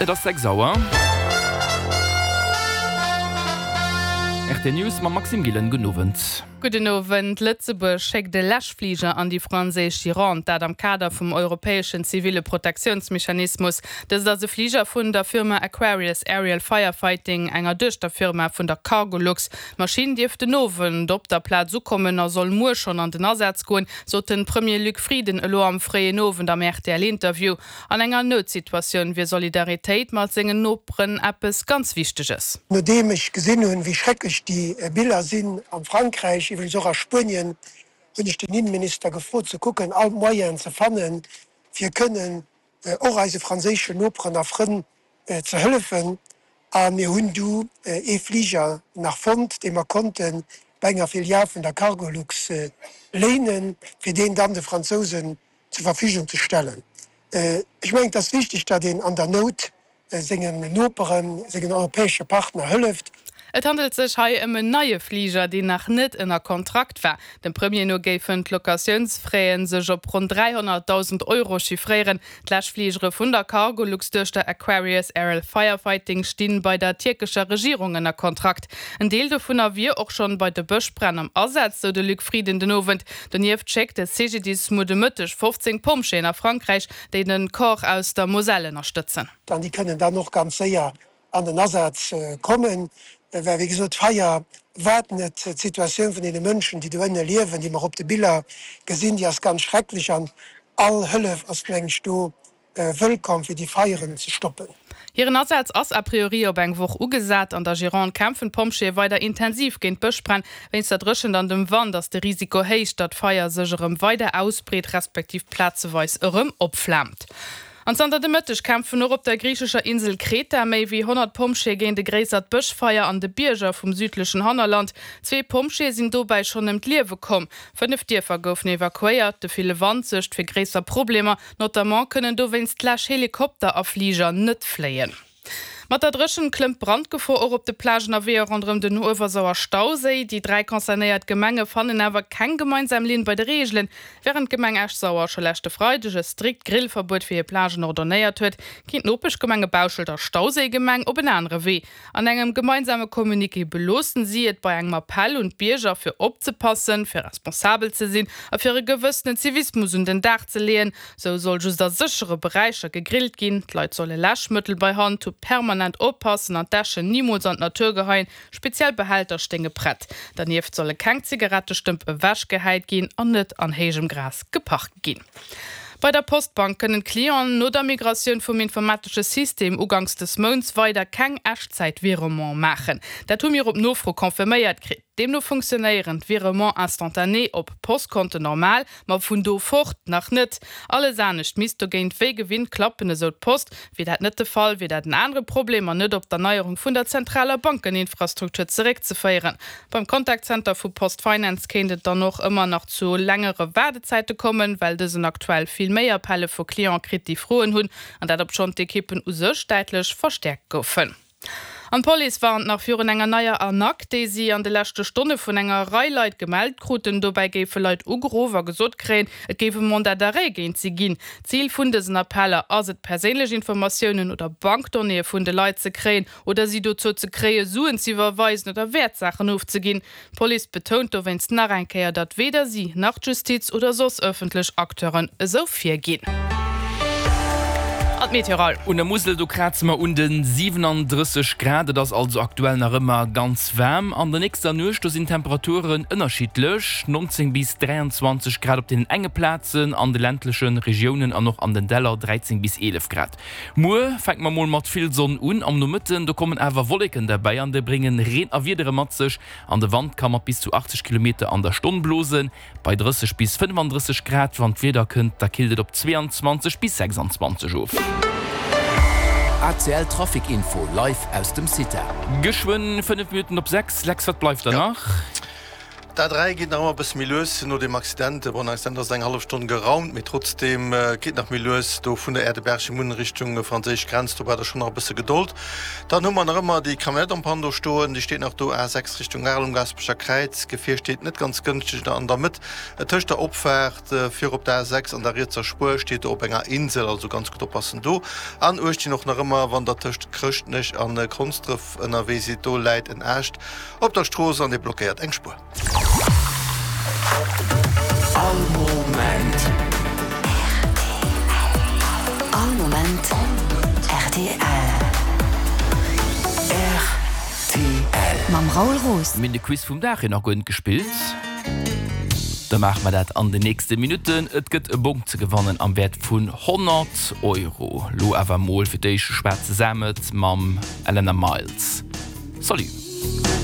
Et ass 6 Auer. Rtl News mam Maxime Gillen. Gudden Owend. Gudden Owend. Lëtzebuerg schéckt e Läschfliger an déi franséisch Gironde, dat am Kader vum europäeschen ziville Protektiounsmechanismus. Dëst ass e Fliger vun der Firma Aquarius Aerial Firefighting, enger Duechterfirma vun der Cargolux. D'Maschinn dierft den Owend op der Plaz ukommen a soll muer schonn an den Asaz goen, sot den Premier Luc Frieden elo am fréien Owend am RTL-Interview. An enger Noutsituatioun wier Solidaritéit mat sengen Noperen eppes ganz Wichteges. Nodeem ech gesinn hunn, wéi schrecklech déi Biller sinn am Frankräich, iwwregens och a Spuenien, hunn ech den Innenminister gefrot ze kucken, all d'Moyenen ze fannen, fir kënnen och eise franséischen Noperen a Frënn ze hëllefen. A mir hunn du ee Fliger nach fonnt, dee mer konnte bei enger Filial vun der Cargolux léinen, fir deen dann de Fransousen zur Verfügung ze stellen. Ech mengen, et ass wichteg, datt een an der Nout sengen Noperen, sengen europäesche Partner hëlleft. Et handelt sech hei ëm en neie Fliger, deen nach net ënner Kontrakt war. Dem Premier no géifen d'Locatiounsfraie sech op ronn 300.000 Euro chiffréieren. D'Läschfligere vun der Cargolux-Duechter Aquarius Aerial Firefighting stinn bei der tierkescher Regierung ënner Kontrakt. En Deel dovunner wier och schonn bei de Bëschbränn am Asaz, sou de Luc Frieden den Owend. Donieft schéckt de CGDIS muer de Mëtteg 15 Pompjeeën a Frankräich, déi den Corps aus der Moselle ënnerstëtzen. An déi kënnen dann och ganz séier an den Asaz kommen, well wéi gesot, d'Feier waart net. D'Situatioun vun deene Mënschen, déi do ënne liewen, déi mer op de Biller gesinn, déi ass ganz schrecklech an all Hëllef ass, mengen ech, do wëllkomm, fir déi Feieren ze stoppen. Hiren Asaz ass a priori op eng Woch ugesat. An der Gironde kämpfen d'Pompjeeë weider intensiv géint d'Bëschbränn. Wéinst der Dréchent an dem Wand ass de Risiko héich, datt d'Feier sech erëm weider ausbreet, respektiv plazeweis erëm opflaamt. An zanter de Mëtteg kämpfen och op der griichescher Insel Kreta méi wéi 100 Pompjeeë géint e gréissert Bëschfeier an de Bierger vum südlechen Hannerland. Zwee Pompjeeë sinn dobäi schonn ëm d'Liewe komm. 5 Dierfer goufen evakuéiert. De ville Wand suergt fir gréisser Problemer. Notamment kënnen dowéinst d'Läschhelikopter a Fliger net fléien. Mat der Dréchent klëmmt d'Brandgefor och op de Plagen a Weeër ronderëm den Uewersauer Stauséi. Déi 3 concernéiert Gemenge fannen awer keng gemeinsam Linn bei de Reegelen. Wärend d'Gemeng Esch-Sauer scho leschte Freideg e strikt Grillverbuet fir hir Plagen ordonnéiert huet, ginn d'Nopeschgemenge Bauschelt a Stauséigemeng op en anere Wee. An engem gemeinsame Communiqué beloossen si et bei engem Appell un d'Bierger fir opzepassen, fir responsabel ze sinn a fir e gewëssenen Zivismus un den Dag ze leeën. Sou soll just a séchere Beräicher gegrillt ginn, d'Leit solle Läschmëttel bei Hand hu, permanent oppassen an d'Äschen nimools an d'Natur geheien, speziell Behälter stéinge prett. Dernieft solle keng Zigarettestëmp ewechgehäit ginn an net an héijem Gras geparkt ginn. Bei der Postbank kënnen d'Clienten no der Migratioun vum informatesche System uganks des Mounts weider keng Echtzäit-Virement maachen. Dat hu mir op Nofro confirméiert kritt. Deemno funktionéieren d'Virements instantanés op Postkonten normal, ma vun do fort nach net. Alles anescht misst dogéint wéi gewinnt klappen, esou d'Post. Wier dat net de Fall, wier dat en anere Problem an net op d'Erneierung vun der zentraler Bankeninfrastruktur zeréckzeféieren. Beim Contact Center vu PostFinance kéint et dann och ëmmer nach zu längere Waardezäite kommen, well dësen aktuell vill méi Appelle vu Cliente kritt, déi Froen hunn, an dat obschonn d'Ekippen u sech däitlech verstäerkt goufen. An d'Police warnt nach virun enger neier Arnaque, déi si an de leschte Stonne vun enger Rei Leit gemellt kruten. Dobäi géife Leit ugeruff a gesot kréien, et géif e Mandat d'arrêt géint si ginn. Zil vun dësen Appeller ass et, perséinlech Informatiounen oder Bankdonnéeë vun de Leit ze kréien oder si dozou ze kréien, Suen ze iwwerweisen oder Wäertsaachen ofzeginn. D'Police betount dowéinst nach eng Kéier, datt weder si, nach d'Justiz oder soss ëffentlech Acteuren esou virginn. An d'Meteoral. Un der Musel, do kraze mer un de 37 Grad. Et ass also aktuell nach ëmmer ganz waarm. An der nächster Nuecht, do sinn d'Temperaturen ënnerschiddlech, 19 bis 23 Grad op deenen enge Plazen, an de ländleche Regiounen an och an den Däller 13 bis 11 Grad. Muer fänke mer mol mat vill Sonn un, am Nomëtten do kommen awer Wolleken derbäi an déi bréngen Reen a Wiedere mat sech an de Wand ka mat bis zu 80 Kilometer an der Stonn blosen. Bei 30 bis 35 Grad, wann d'Wieder kënnt, da killt et op 22 bis 26 of. ACL Trafic Info live aus dem CITA. Geschwënn 5 Minutten op 6. Lex, wat bleift der nach? D'A3 geet nach ëmmer e bësse méi lues no deem Accident. Bon, den Accident ass eng hallef Stonn geraumt, mee trotzdeem geet nach méi lues do vun der Aire de Bergimont Richtung franséisch Grenz. Do braucht der schonn nach e bësse Gedold. Dann hu mer nach ëmmer déi Camionnette en panne do stoen. Déi steet nach do, A6 Richtung Arel um Gaasperecher Kräiz. D'Gefier steet net ganz gënschteg an der Mëtt tëscht der Opfaart fir op d'A6 an der rietser Spuer. Steet do op enger Insel, also ganz gutt oppassen do. An uecht ginn och nach ëmmer, wann der tëscht Chrëschtnech a Konsdref ënnerwee sidd, do läit en Aascht Op der Strooss an dee blockéiert eng Spuer. All Moment. All Moment rtl. Rtl. Mam Raoul Roos. Mir hunn de Quiz vum Dag jo nach guer net gespillt. Da maache mer dat an den nächste Minutten. Et gëtt e Bong ze gewannen am Wäert vun 100 Euro. Lo awer mol fir d'éischt de Schwaarze Samet mam Elena Miles. Salut!